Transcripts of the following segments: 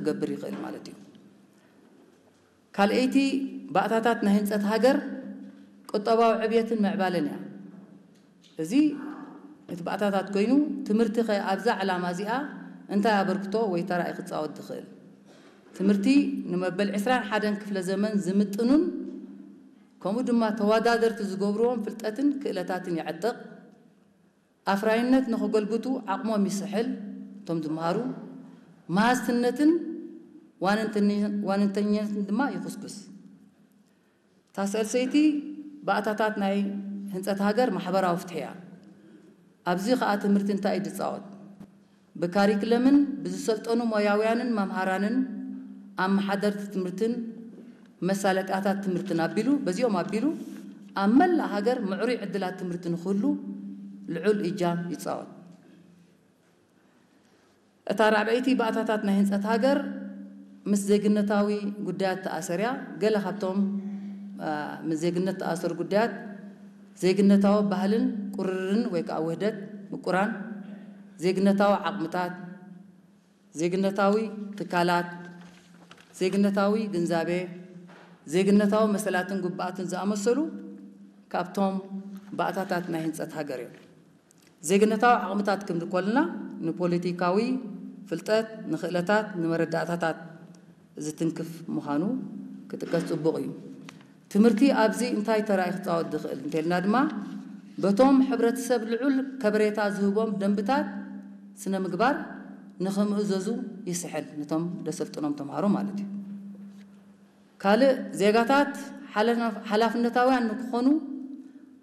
ክገብር ይኽእል ማለት እዩ። ካልኣይቲ ባእታታት ናይ ህንፀት ሃገር ቁጠባዊ ዕብየትን ምዕባለን እያ። እዚ እቲ ባእታታት ኮይኑ፣ ትምህርቲ ኸ ኣብዛ ዕላማ እዚኣ እንታይ ኣበርክቶ ወይ ተራ እዩ ክፃወት ዝኽእል? ትምህርቲ ንመበል ዕስራን ሓደን ክፍለ ዘመን ዝምጥኑን ከምኡ ድማ ተወዳደርቲ ዝገብርዎም ፍልጠትን ክእለታትን የዕጥቕ። ኣፍራይነት ንኸጎልብቱ ዓቕሞም ይስሕል። እቶም ዝመሃሩ መሃዝትነትን ዋንንተኛ- ዋንንተኛነትን ድማ ይኹስኩስ። እታ ሳልሰይቲ ባእታታት ናይ ህንፀት ሃገር ማሕበራዊ ፍትሒ እያ። ኣብዚ ኸኣ ትምህርቲ እንታይ እዩ ዝፃወት? ብካሪክለምን ብዝሰልጠኑ ሞያውያንን መምሃራንን ኣመሓደርቲ ትምህርትን መሳለጥያታት ትምህርትን ኣቢሉ፣ በዚኦም ኣቢሉ ኣብ መላእ ሃገር ምዕሩይ ዕድላት ትምህርቲ ንክህሉ ልዑል እጃም ይፃወት። እታ ራብዐይቲ ባእታታት ናይ ህንፀት ሃገር ምስ ዜግነታዊ ጉዳያት ተኣሰር እያ። ገለ ካብቶም አ፣ ምስ ዜግነት ተኣሰሩ ጉዳያት ዜግነታዊ ባህልን ቁርርን ወይ ከዓ ውህደት ምቁራን፣ ዜግነታዊ ዓቕምታት፣ ዜግነታዊ ትካላት፣ ዜግነታዊ ግንዛቤ፣ ዜግነታዊ መሰላትን ግቡኣትን ዝኣመሰሉ ካብቶም ባእታታት ናይ ህንፀት ሃገር እዮም። ዜግነታዊ ዓቕምታት ክንብል ከለና ንፖለቲካዊ ፍልጠት፣ ንኽእለታት፣ ንመረዳእታታት ዝትንክፍ ምዃኑ ክጥቀስ ጽቡቕ እዩ። ትምህርቲ ኣብዚ እንታይ ተራ እዩ ክጻወት ዝኽእል እንተልና ድማ በቶም ሕብረተሰብ ልዑል ከበሬታ ዝህቦም ደንብታት ስነ ምግባር ንኽምእዘዙ ይስሕል፣ ነቶም ደሰልጥኖም ተምሃሮ ማለት እዩ። ካልእ ዜጋታት ሓላፍ- ሓላፍነታውያን ንክኾኑ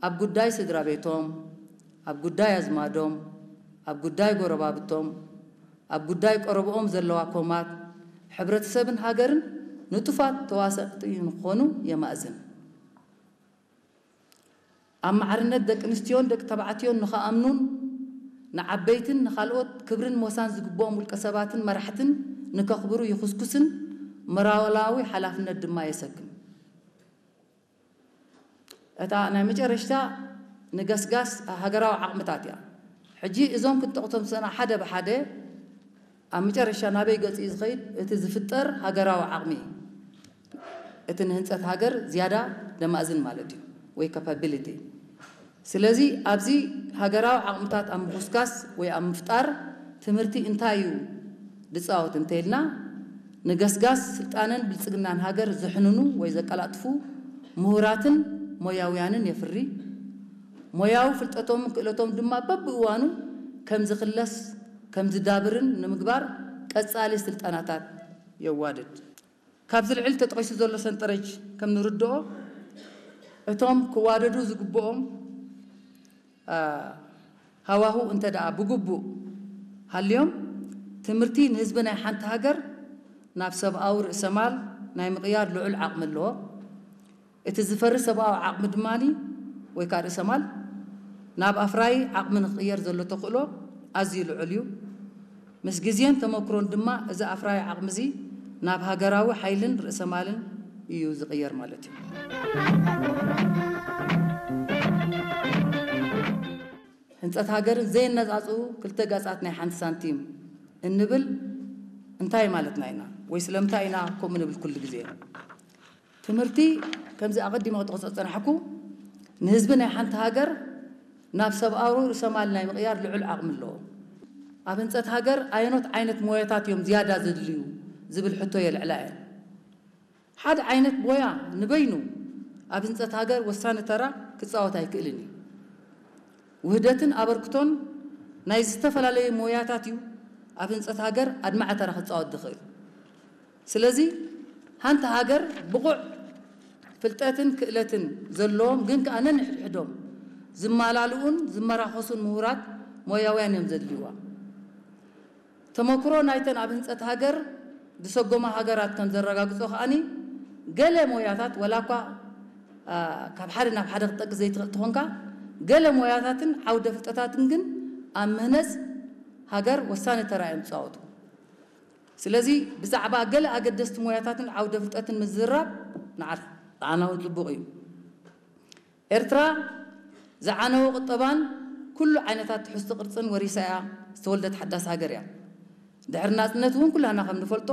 ኣብ ጉዳይ ስድራ ቤቶም፣ ኣብ ጉዳይ ኣዝማዶም፣ ኣብ ጉዳይ ጎረባብቶም፣ ኣብ ጉዳይ ቀረብኦም ዘለዋ ኮማት ሕብረተሰብን ሃገርን ንጡፋት ተዋሰእቲ ንክኾኑ የማእዝን። ኣብ ማዕርነት ደቂ ኣንስትዮን ደቂ ተባዕትዮን ንኽኣምኑን ንዓበይትን ንኻልኦት ክብርን ሞሳን ዝግብኦም ውልቀ ሰባትን መራሕትን ንከኽብሩ ይኹስኩስን ሞራላዊ ሓላፍነት ድማ የሰክም። እታ ናይ መጨረሽታ ንገስጋስ ሃገራዊ ዓቕምታት እያ። ሕጂ እዞም ክንጠቕሶም ዝሰና ሓደ ብሓደ ኣብ መጨረሻ ናበይ ገጽ እዩ ዝኸይድ? እቲ ዝፍጠር ሃገራዊ ዓቕሚ፣ እቲ ንህንጸት ሃገር ዝያዳ ደማእዝን ማለት እዩ፣ ወይ ካፓቢሊቲ። ስለዚ ኣብዚ ሃገራዊ ዓቕምታት ኣብ ምኹስካስ ወይ ኣብ ምፍጣር ትምህርቲ እንታይ እዩ ዝጻወት እንተኢልና፣ ንገስጋስ ስልጣነን ብልጽግናን ሃገር ዘሕንኑ ወይ ዘቀላጥፉ ምሁራትን ሞያውያንን የፍሪ። ሞያዊ ፍልጠቶምን ክእለቶም ድማ በብእዋኑ ከም ዝኽለስ ከም ዝዳብርን ንምግባር ቀጻሊ ስልጠናታት የዋድድ። ካብዚ ልዕሊ ተጠቒሱ ዘሎ ሰንጠረጅ ከም ንርድኦ፣ እቶም ክዋደዱ ዝግብኦም፣ አ፣ ሃዋሁ እንተ ደኣ ብግቡእ ሃልዮም፣ ትምህርቲ ንህዝቢ ናይ ሓንቲ ሃገር ናብ ሰብኣዊ ርእሰማል ናይ ምቕያር ልዑል ዓቕሚ ኣለዎ። እቲ ዝፈሪ ሰብኣዊ ዓቕሚ ድማ ወይ ከዓ ርእሰማል ናብ ኣፍራዪ ዓቕሚ ንክቕየር ዘሎ ተኽእሎ ኣዝዩ ልዑል እዩ። ምስ ግዜን ተመክሮን ድማ እዚ ኣፍራዪ ዓቕሚ እዚ ናብ ሃገራዊ ሓይልን ርእሰማልን እዩ ዝቕየር ማለት እዩ። ህንፀት ሃገርን ዘየነፃፅኡ ክልተ ገፃት ናይ ሓንቲ ሳንቲም እንብል እንታይ ማለትና ኢና? ወይ ስለምንታይ ኢና ከምኡ ንብል ኩሉ ግዜ? ትምህርቲ ከምዚ ኣቐዲመ ክጠቕሶ ዝፀናሕኩ ንህዝቢ ናይ ሓንቲ ሃገር ናብ ሰብኣዊ ርእሰማል ናይ ምቕያር ልዑል ዓቕሚ ኣለዎ። ኣብ ህንፀት ሃገር ኣየኖት ዓይነት ሞያታት እዮም ዝያዳ ዘድልዩ ዝብል ሕቶ የልዕላ እየን። ሓደ ዓይነት ሞያ ንበይኑ ኣብ ህንፀት ሃገር ወሳኒ ተራ ክፃወት ኣይክእልን እዩ። ውህደትን ኣበርክቶን ናይ ዝተፈላለዩ ሞያታት እዩ ኣብ ህንፀት ሃገር ኣድማዒ ተራ ክፃወት ዝኽእል። ስለዚ ሓንቲ ሃገር ብቑዕ ፍልጠትን ክእለትን ዘለዎም ግን ከኣ ነንሕድሕዶም ዝመላልኡን ዝመራኸሱን ምሁራት ሞያውያን እዮም ዘድልይዋ። ተመክሮ ናይተን ኣብ ህንፀት ሃገር ዝሰጎማ ሃገራት ከም ዘረጋግጾ ከኣኒ ገለ ሞያታት ወላ እኳ አ፣ ካብ ሓደ ናብ ሓደ ክትጠቅስ ዘይትኽእል ትኾንካ፣ ገለ ሞያታትን ዓውደ ፍልጠታትን ግን ኣብ ምህነፅ ሃገር ወሳኒ ተራ እዮም ዝፃወቱ። ስለዚ ብዛዕባ ገለ ኣገደስቲ ሞያታትን ዓውደ ፍልጠትን ምዝራብ ንዓ- ንዓና እውን ፅቡቕ እዩ። ኤርትራ ዝዓነወ ቁጠባን ኩሉ ዓይነታት ትሕዝቶ ቅርጽን ወሪሳ እያ ዝተወልደት ሓዳስ ሃገር እያ። ድሕሪ ናጽነት እውን ኩላና ከም ንፈልጦ